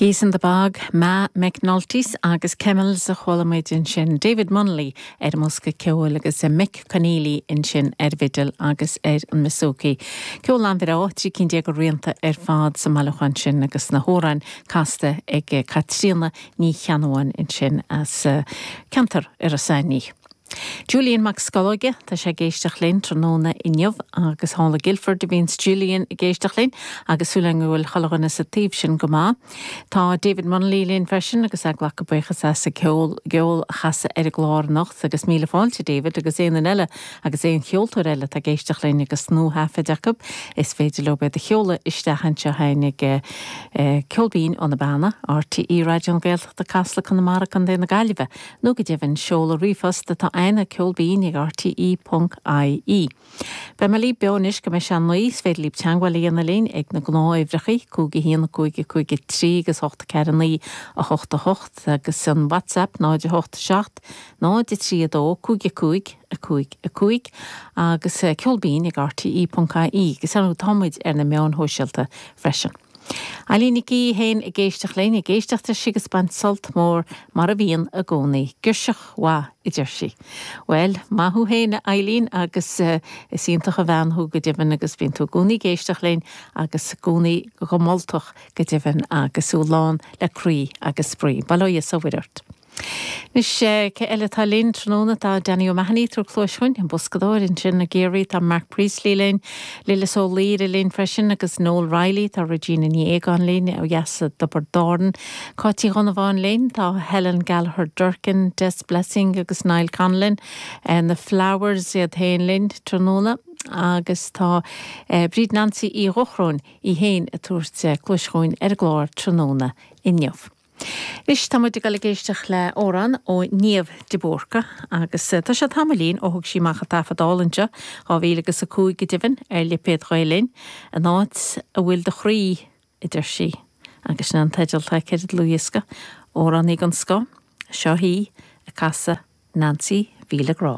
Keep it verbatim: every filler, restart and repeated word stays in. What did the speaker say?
Geese in the Bog, Ma McNulty's agus Camels a chuala muid ansin David Munnelly ar an mbosca ceoil agus Mick Conneely ansin ar bhfidil agus ar an mbouzouki. Ceol an-bhreá trí cinn déag de rianta ar fad sa mbailiúchán sin agus na hamhráin casta ag Caitríona Ní Cheannabháin ansin as eh, ceantar Iorras Aithneach. Julian Mac Scolóige tá sé ag éisteacht linn tráthnóna inniu agus thall i Guildford a bhíonns Julian ag éisteacht linn agus súil go bhfuil chuile dhuine sa taobh sin go maith. Tá David Munnelly linn freisin agus ag glacadh buíochas as an gceol ceol a chasadh ar an gclár anocht agus míle fáilte David agus aon eile agus aon cheoltóir eile tá ag éisteacht linn agus nuathaifead acu is féidir leo iad a sheoladh isteach anseo chuig eh, Ceol Binn ó na Beanna, RTÉ Raidió na Gaeltachta Casla Conamara Contae na Gaillimhe, nó go deimhin seoladh ríomhphost atá ann ceolbinn ag RTE.ie. Beidh mé libh beo anois go mbeidh sé naoi is féidir libh teagmháil a dhéanamh linn ag na gnáthuimhreacha cúig a haon cúig cúig trí agus hocht ceathair naoi a hocht a hocht agus an WhatsApp náid a hocht seacht náid a trí a dó cúig cúig a cúig a cúig agus eh, ceolbinn ag RTE.ie agus ar támuid ar na meáin shóisialta freisin. Eileen Nic í héin ag éisteacht linn ag éisteacht agus baint sult mór mar a bhíonn i gcónaí. Girseach mhaith a deir sí. Well, maith thú féin Eileen agus uh, is iontach an bhean thú go deimhin agus bíonn tú i gcónaí ag éisteacht linn agus i gcónaí go moltach go deimhin agus tú lán le croí agus spraoi. Bail ó Dhia is a Mhuire ort. Anois cé eile tá linn tráthnóna tá Danny O'Mahony ag tabhairt cluas dúinn an boscadóir ansin i gCiarraí tá Mark Priestley linn, Lillis Ó Laoire linn freisin agus Noel Riley tá Regina Ní Éagáin linn ó dheas i dTiobraid Árann. Cáit Uí Dhonnabháin linn tá Helen Gallagher Durkin, Des Blessing agus Niall Conlon, eh, na Flowers iad féin linn tráthnóna. agus tá eh, Bríd Nancy Uí Dhochróin í féin ag tabhairt eh, cluas dúinn ar an gclár tráthnóna inniu. Anois tá muid ag dul ag éisteacht le amhrán ó Niamh de Búrca agus eh, tá sé tamaillín ó thug sí amach an taifead álainn seo dhá mhíle agus a cúig go deimhin ar lipéad Ghael Linn an áit a bhfuil do chroí a deir sí agus sin an teideal atá ar an dlúthdhiosca amhránaí den scoth seo í ag casadh Nancy Mhíle Grá.